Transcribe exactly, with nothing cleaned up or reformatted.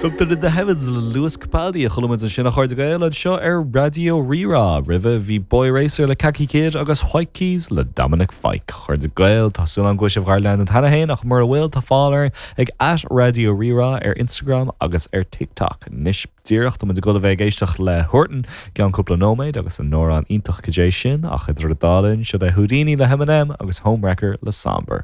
Something in the Heavens le Lewis Capaldi a chuala muid ansin a chairde Gael anseo ar Raidió Rí-Rá. Roimhe bhí Boy Racer le Kaki Kid agus White Keys le Dominic Fike. Chairde Gael tá súil agam go bhfuil sibh ár leanúint cheana féin ach mura bhfuil tá fáil orainn ag at Raidió Rí-Rá ar Instagram agus ar TikTok. Anois díreach tá muid ag dul a bheith ag éisteacht le Huartan ceann cúpla nóiméad agus an amhrán iontach cad é sin ach idir an dá linn seo é Houdini le Eminem agus Homewrecker le Sombr.